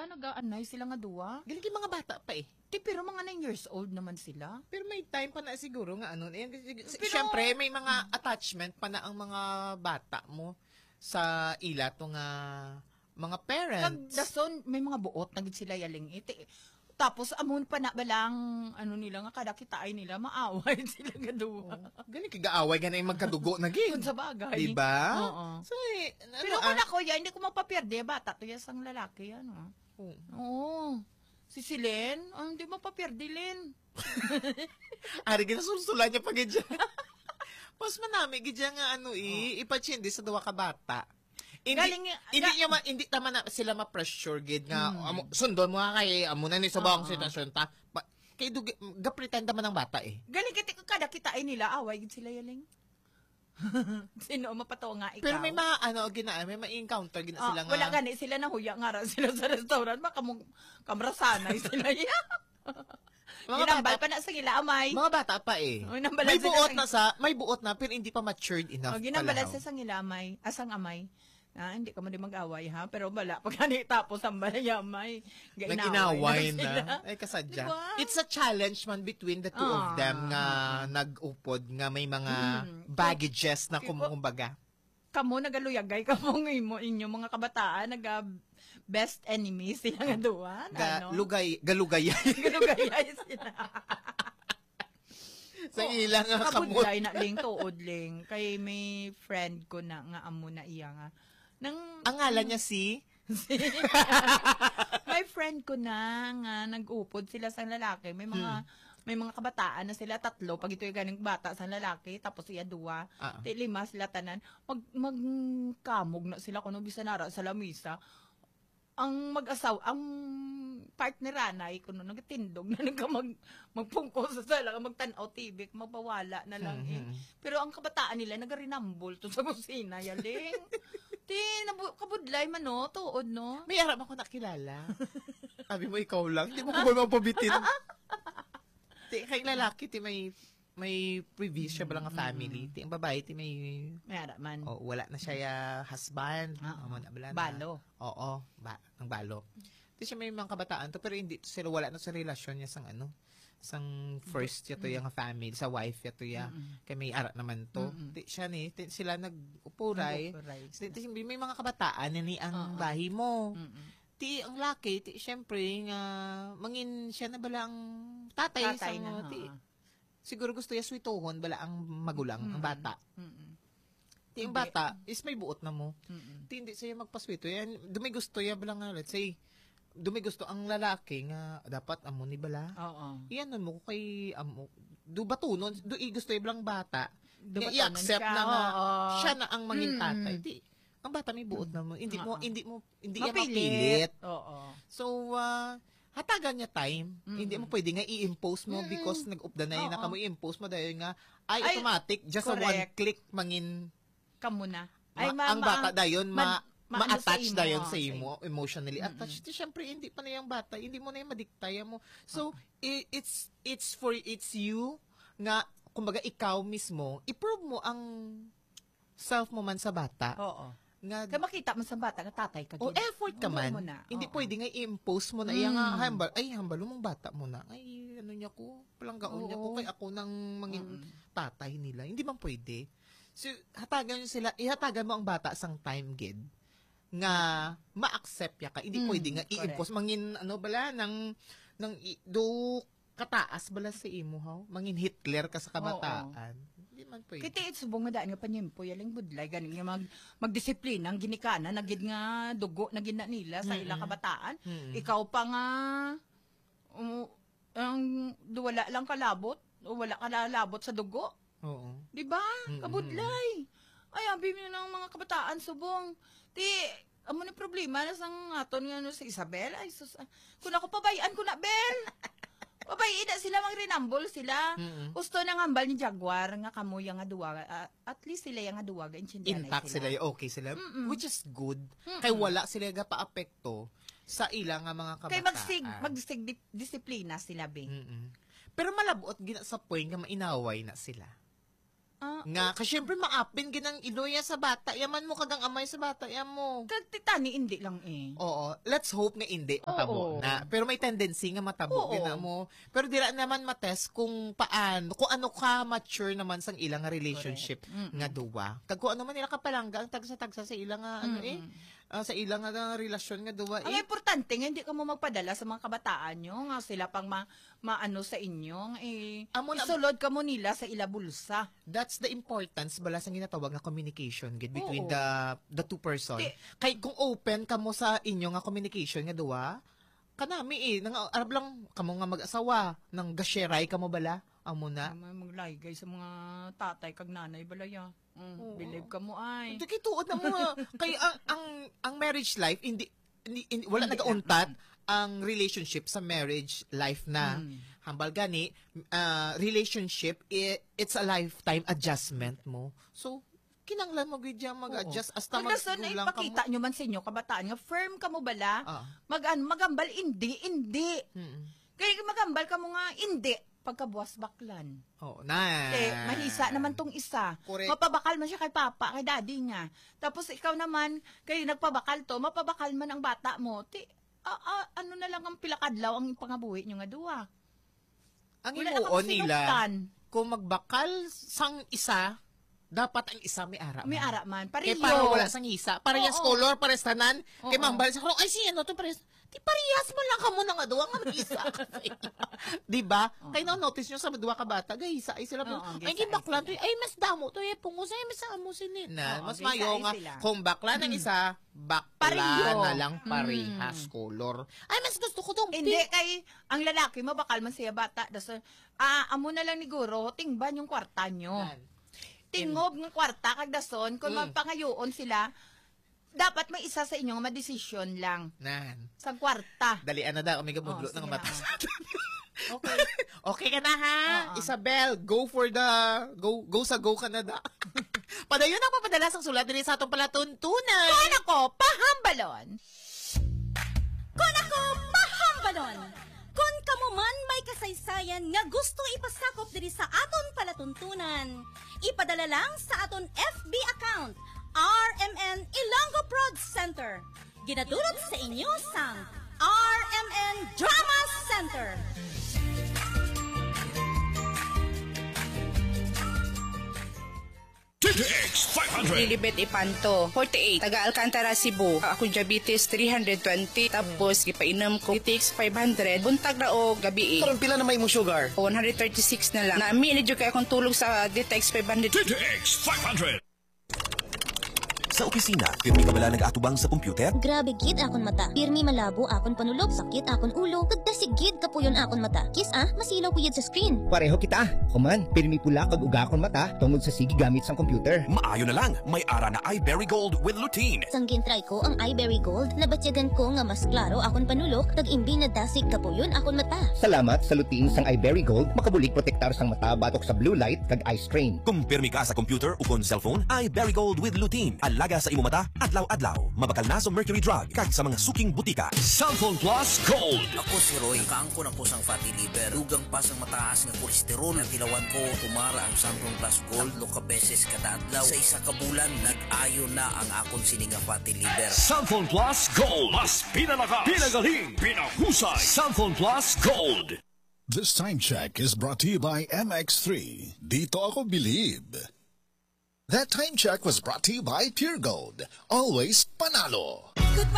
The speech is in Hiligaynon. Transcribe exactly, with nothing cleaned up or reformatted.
Nagaanay sila nga duwa. Galing kay mga bata pa eh. Ti, pero mga nine years old naman sila. Pero may time pa na siguro nga ano, eh, si- Pero- siyempre may mga attachment pa na ang mga bata mo sa ila to nga mga parents. Kag dason, may mga buot na gid sila yaling iti. Tapos, amon pa na balang, ano nila nga, kada kitaay nila, maaway sila nga duwa. Oh. Galing kay gaaway gani magkadugo na gid. Kung sa bagay. Diba? Oo. So, eh, ano, Pero kung ah, ako, ya, hindi ko magpaperde, bata to ya sang lalaki, ano. Oh. Oo. Si Silen, ang di magpaperde, Len. Ari, ginasulsulan niya pa gid siya. Mas manami gid siya nga ano, i, Oh. ipachindi sa duwa ka bata. Hindi, Galing nga, hindi ga- niya ma, hindi naman na sila ma-pressure gid nga, Hmm. amo, sundon mo nga kay, amo na ni sa bawang Oo. sitwasyon ta. Pa, kay dugi, gapretend naman ang bata eh. Galing kiti ko kada kitaay nila, away gid sila yaling. Sino mapatawa nga ikaw? Pero may mga, ano, gina, may ma-encounter gina Ah, sila nga. Wala gani sila nahuya nga ra sila sa restaurant, baka mo kamrasanay sila. Yeah. Mga Ginambal bata pa na sa ila amay. Mga bata pa eh. Oh, ginambal May sila buot sa na sa, may buot na, pero hindi pa matured enough Oh, ginambal pala, sa sang ila amay, asang amay. Ah, hindi ka mo di mag-away ha, pero wala pa gani tapos ang balayamay. Gainaway Nag-inaway na na. sila. Ay, kasadya. Diba? It's a challenge man between the two of Ah, them nga ah, ah. nag-upod nga may mga Mm. baggages na Tipo, kum-, kumbaga. Kamo nagaluyagay kamo ng imo, inyo mga kabataan, naga best enemy sila nga duwa, Ga-, ano? lugay-, galugayay. Galugayay sila. Sa Oh, ila nga kabudlay kamot. na, Ling, tuod, Ling. Kay may friend ko na nga amo na iya nga. Nang Ang ngalan niya si? May friend ko na nga nag-upod sila sa lalaki. May mga Hmm. may mga kabataan na sila, tatlo. Pag ito yung ganing bata sa lalaki, tapos iya duwa. Ah. Ti lima sila tanan. Mag, magkamog na sila kuno bisan nara sa lamisa. Ang mag-asaw, ang partner anay kuno nagatindog na nagka mag, magpungko sa sala, magtan-aw T V, mabawala na lang eh. Mhm. Pero ang kabataan nila nagarinambol to sa kusina, yaling. Ti, nabu-, kabudlay man, no? Tuod, no? May ara man ko nakilala. Sabi mo, ikaw lang. Di mo ko ba mapabitin? Ti, kay lalaki, ti may, may previous siya ba nga Mm, family? mm. Ti, ang babae, ti may May ara man. Oh, wala na siya ya husband. Ah, Amo na, wala na. Balo. Oo, ba, ang balo. Ti siya may mga kabataan to, pero hindi to sila, wala na sa relasyon niya sang ano, sang first ya to Mm. ya nga family, sa wife ya to ya. Mm-mm. Kay may ara naman to. Mm-mm. Ti siya ni, ti, sila nag-upuray. Nag-upuray Ti, sila. ti, may mga kabataan na ni ang Oo. bahi mo. Mm-mm. Ti ang laki, ti syempre nga mangin siya na bala ang tatay Tatay sa na, mga, ti, oo. siguro gusto ya swituhon bala ang magulang, ang Mm. bata. Mm-mm. Ti ang Hindi. bata is may buot na mo. Mm-mm. Ti hindi siya magpaswito. Yan, do may gusto ya bala nga, let's say, do may gusto ang lalaki nga dapat amo ni bala. Oo. Iyan mo ko kay amo. Do batunon, do i gusto ya bala ang bata. Do Nga batunon i-accept siya, na nga oo. siya na ang mangin Mm. tatay. Ti, ang bata may buot na mo. Hindi mo, Oo. hindi mo, hindi yan Mapilit. mapilit. Oo. So, ah, hatagan niya time. Mm. Hindi mo pwede nga i-impose mo Mm. because nag-updanay na Oo. kamo, i-impose mo dahil nga, ay, Ay, automatic, just a one correct. click, mangin Kamo na. Ay, ma-, ma-, ang ma-, bata dayon, ma-, ma-, maano sa ma-attach imo, dayon sa sa imo, imo. emotionally Mm-mm. attached. Di, syempre, hindi pa na yung bata, hindi mo na yung madiktaya mo. So, Okay. i-, it's, it's for, it's you nga, kumbaga, ikaw mismo, i-prove mo ang self mo man sa bata. Oo. Nga Kaya makita mo sa bata nga tatay ka O, gid. effort ka Hindi man. mo na. Hindi Oo. pwede nga i-impose mo na iya nga, Mm. hambal, ay, hambal mong bata mo na. Ay, ano niya ko, palanggaon niya ko, Oo. kay ako nang mangin Mm. tatay nila. Hindi man pwede. So, hatagan niyo sila, ihatagan mo ang bata sang time gid nga ma-accept ya ka. Hindi Mm, pwede nga correct. i-impose. Mangin, ano bala, nang, nang i-, do kataas bala sa imo, haw? Mangin Hitler ka sa Oo. kabataan. Hindi man pwede. Kita it subong nga daan nga panyempo, yaling budlay, gani nga mag-, magdisiplina, ang ginikanan, nagid nga dugo, nagid na nila sa ila Mm-mm. kabataan. Mm-mm. Ikaw pa nga, um, ang duwala lang kalabot, o wala ka lalabot sa dugo. Oo. Di ba? Mm-mm. Kabudlay. Ay, abi mo ng mga kabataan, subong. Ti, amo ni problema na sang aton nga, ano, si Isabel. Ay, sus, ah. Kung ako, pabayaan ko na, Bel. Pabayaan na sila, mang rinambol sila. Mm-mm. Gusto na nga hambal ni Jaguar nga kamo yang nga duwa, ah, at least sila yang nga duwa, ga intindihan na Intact sila. sila, okay sila, Mm-mm. which is good. Mm-mm. Kay wala sila gapaapekto sa ila nga mga Kay magsig-, kabataan. magsig-, disiplina sila, be. Mm-mm. Pero malabot gina sa point nga mainaway na sila. Nga, kasi syempre, maapin gid ang iloya sa bata. Yaman mo, kag ang amay sa bata, yamo. Kag titani, hindi lang eh. Oo, let's hope nga hindi matabo Oo. na. Pero may tendency nga matabo Oo. gid na mo. Pero dira naman matest kung paano, kung ano ka mature naman sang ilang relationship Correct. Mm-mm. nga duwa. Kag kung ano man nila kapalangga ang tagsa-tagsa sa ilang nga, ano eh, Mm-mm. ah, sa ilang nga relasyon nga duwa Ang eh. importante nga hindi ka mo magpadala sa mga kabataan nyo nga sila pang ma-, maano sa inyo, nga eh, Amo na isulod ka mo nila sa ila bulsa. That's the importance bala sa ginatawag nga communication gid between Oo. the the two person. Ti- Kay kung open kamo sa inyo nga communication nga duwa, kanami eh, nang arab lang kamo nga mag-asawa, nang gasheray kamo bala, amo na. Ay, may maglaygay sa mga tatay kag nanay bala ya. Mm, Oo. believe ka mo ay. Hindi kay tuod na mo nga. Kay ang, ang, ang marriage life, hindi, hindi, hindi- wala Hindi nagauntat na. ang relationship sa marriage life na. Mm. Hambal gani, ah, relationship, i-, it's a lifetime adjustment mo. So, kinanglan mo gid dyan mag-adjust Oo. hasta Kung mag-, gusto na lang ka mo. ipakita nyo man sa inyo, kabataan, nga firm ka mo bala, Ah. mag-, ano, magambal, hindi, hindi. Mm. Kaya magambal ka mo nga, hindi. Pagkabuwas baklan. Oo, na. Kay mahisa naman tong isa. Correct. Mapabakal man siya kay papa, kay daddy niya. Tapos ikaw naman, kay nagpabakal to, mapabakal man ang bata mo. Ti, a-, a-, ano na lang ang pilakadlaw ang pangabuhi nyo nga duwa? Ang Wala na himuon kamo nila, sinugtan. kung magbakal sang isa, dapat ang isa may ara May man. ara man. Kay Pareho. para wala sang hisa. Parehas Oo. color, parehas tanan. Kay Oo. mambal sa, "Ay, si ano to, parehas." Di parehas man lang kamo na nga duwa nga may isa. Di ba? Oo. Kay na-notice nyo sa duwa ka bata, gahisa ay sila. Oo, Ay, gahisa di bakla ay to. sila. Ay, mas damo to. Ay, pungos. Ay, mas amo sini na. Oo, Mas gahisa mayo ay nga, sila. kung bakla ng Mm. isa, bakla Pareho. na lang parehas Mm. color. Ay, mas gusto ko tong Hindi, pink. kay ang lalaki, mabakal man siya bata. Das, ah, amo na lang ni guro, tingban yung kwarta nyo. Nan. Tingob ng kwarta, kag dason, kung Mm. magpangayoon sila, dapat may isa sa inyo nga madesisyon lang. Nan. Sa kwarta. Dalian na daw, kami gabudlo Oo, ng sige mata na. sa atin. Okay. Okay ka na, ha? Oo. Isabel, go for the, go, go sa go ka na da. Padayon ang papadala sang sulat diri sa atong palatuntunan. Kon ako, pahambalon. Kon ako, pahambalon. Kon kamo man may kasaysayan nga gusto ipasakop diri sa aton palatuntunan, ipadala lang sa aton F B account, R M N Ilonggo Prod Center. Ginadulot sa inyo sang R M N Drama Center. D T X five hundred. Lilibet Ipanto, forty-eight, taga Alcantara, Cebu. Akong diabetes, three hundred twenty. Tapos, gipainom ko D T X five hundred, buntag na o gabi eh. Karon, pila na may imong sugar? One hundred thirty-six na lang. Nami, medyo kaya akong tulog sa D T X five hundred. D T X five hundred. Sa opisina, pirmi ka bala nag-atubang sa computer? Grabe gid akon mata. Pirmi malabo akon panulok, sakit akon ulo, kag dasig gid kapuyon akon mata. Kiss ah, masilaw ko gid sa screen. Pareho kita. Ako man, pirmi pula kag uga akon mata tungod sa sige gamit sang computer. Maayo na lang, may ara na Iberry Gold with lutein. Sang gin-try ko ang Iberry Gold, nabatyagan ko nga mas klaro akon panulok, kag imbi na dasig kapuyon akon mata. Salamat sa lutein sang Iberry Gold, makabulig protektar sang mata batok sa blue light kag eye strain. Kung pirmi ka sa computer ukon cellphone, Iberry Gold with lutein. Alaga sa imo mata, adlaw-adlaw. Mabakal na sa Mercury Drug kag sa mga suking butika. Cellphone Plus Gold. Ako si Roy. Nakaangkon ako sang fatty liver. Dugang pa sang mataas nga kolesterol. Natilawan ko, tumara ang Samsung Plus Gold. Tatlo ka beses kada adlaw. Sa isa ka bulan, nag-ayo na ang akon sini nga fatty liver. Samsung Plus Gold. Mas pinalakas, pinagaling, pinahusay. Samsung Plus Gold. This time check is brought to you by M X three. Dito ako bilib. That time check was brought to you by Pure Gold. Always panalo.